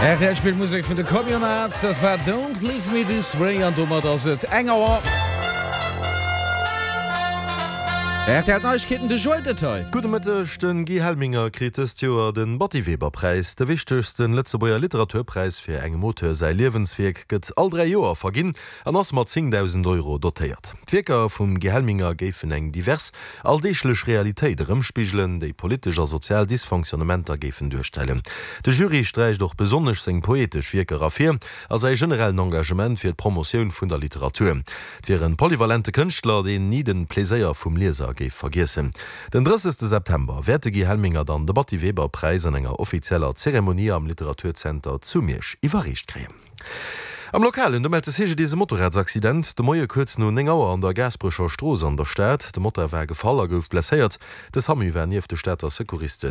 Rtl spillt Musek vun de Communards, dat war Don't Leave Me This Way an domat ass et eng Auer. Rtl Neiegkeeten, de Joël Detail. Gudde Mëtteg, Den Guy Helminger kritt dëst Joer den Batty Weber Präis. De wichtegsten Lëtzebuerger Literaturpräis fir engem Auteur säi Liewenswierk gëtt all 3 Joer verginn an ass mat 10.000 Euro dotéiert. D'Wierker vum Guy Helminger géifen eng divers, alldeeglech Realitéit erëmspigelen, déi politesch a sozial Dysfonctionnementer géifen duerstellen. De Jury sträicht och besonnesch seng poetesch Wierker ervir a säi generellen Engagement fir d'Promotioun vun der Literatur. Et wier en polyvalente Kënschtler, deen ni de Pleséier vum Lieser géif vergiessen. Den 30 September wäert de Guy Helminger dann de Batty Weber Präis an enger offizieller Zeremonie am Literaturzenter zu Miersch iwwerreecht kréien. Am Lokalen, do mellt de CGDIS e Motorradsaccident de Moie kuerz no 9 Auer an der Gaasperecher Strooss an der Stad. De Motard war gefall a gouf blesséiert. De Samu war nieft de Stater Secouristen.